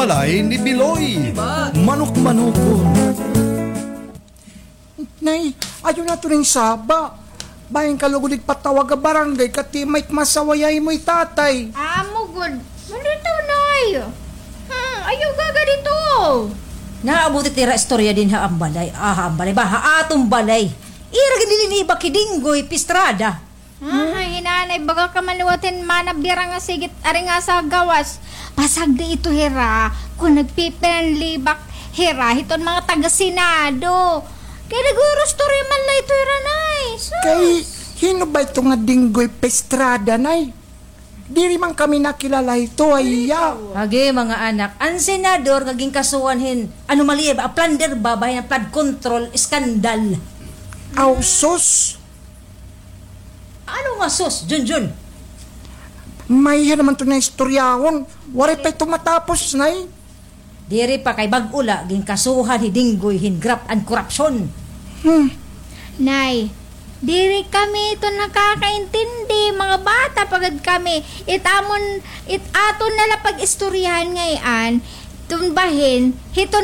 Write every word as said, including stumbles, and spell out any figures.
Balay ni Biloy. Manok-manokon. Nay, ayaw na ito nin saba. Bahin ka lugod igpatawag ha barangay, kay ti may masaway ha imo hi tatay. Amo gud. Nandito, Nay. Hmm, ayaw gaga dito. Naabot it ira istorya dinhi ha ambalay. Ah, ha ambalay ba? Ha aton balay. Ira gin dinhi nibak hi Dinggoy Pistrada. Ah, hi Nanay, baga ka man liwat hin manabira nga sigit ari nga sa gawas. Pasagdi ito hira, kon nagpipinanlibak hira hiton mga taga-Senado. Kay nagurustorya man la ito hira, Nay. Sus! Kay hin-o ba ito nga Dinggoy Pistrada, Nay? Diri man kami nakilala hito, ay iya. Agi, mga anak, an senador nga ginkasuhan hin anomalya ba, plunder ba, bahin an flood control scandal. Aw, sus! Ano nga sus, Junjun? May-ada naman ito nga istoryahon. Waray pa ito matapos, Nay. Diri pa kay bag-o la, ginkasuhan hi Dinggoy hin graft and corruption. Hmm. Nay, diri kami ito nakakaintindi, mga bata pa gad kami. It amon, it aton na la pag-istoryahan ngay-an, iton bahin, hiton